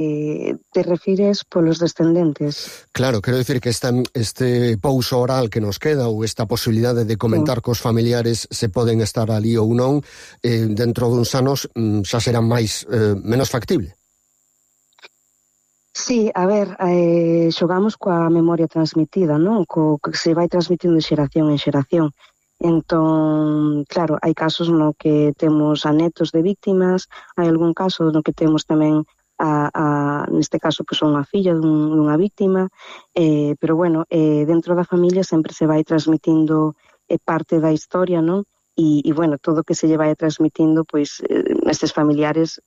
te refires polos descendentes? Claro, quero dicir que este pouso oral que nos queda ou esta posibilidade de comentar cos familiares se poden estar ali ou non, dentro duns anos xa será menos factible. Sí, a ver, xogamos coa memoria transmitida, non? Co que se vai transmitindo de xeración en xeración. Entón, claro, hai casos no que temos a netos de víctimas, hai algún caso no que temos tamén neste caso, pois, unha filla dunha víctima, pero bueno, dentro da familia sempre se vai transmitindo parte da historia, non? E bueno, todo o que se lle vai transmitindo, pois, nestes familiares,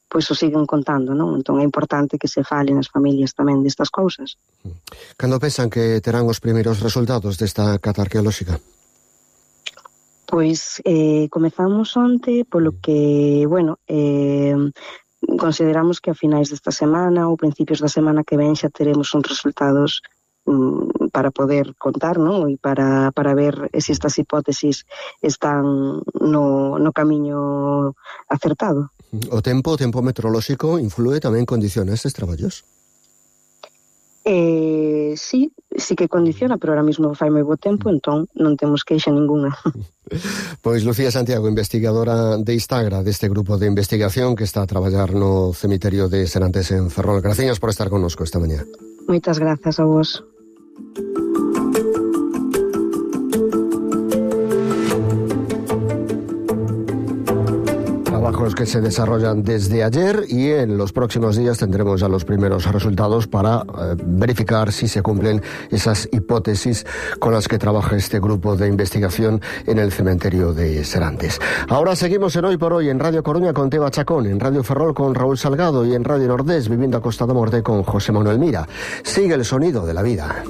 pois o siguen contando, non? Entón é importante que se fale nas familias tamén destas cousas. Cando pensan que terán os primeiros resultados desta cata arqueolóxica? Pois comezamos onte, polo que, bueno, consideramos que a finais desta semana ou principios da semana que ven xa teremos uns resultados para poder contar, non? E para ver se estas hipótesis están no camiño acertado. O tempo meteorolóxico influe tamén, condiciona estes traballos? Sí que condiciona, pero ahora mismo fai moi bo tempo, entón non temos queixa ninguna. Pois Lucía Santiago, investigadora de Istagra, deste grupo de investigación que está a traballar no cemiterio de Serantes en Ferrol. Gracias por estar connosco esta mañá. Moitas grazas a vos. Trabajos que se desarrollan desde ayer y en los próximos días tendremos ya los primeros resultados para verificar si se cumplen esas hipótesis con las que trabaja este grupo de investigación en el cementerio de Serantes. Ahora seguimos en Hoy por Hoy en Radio Coruña con Teba Chacón, en Radio Ferrol con Raúl Salgado y en Radio Nordés Vivienda Costa da Morte con José Manuel Mira. Sigue el sonido de la vida.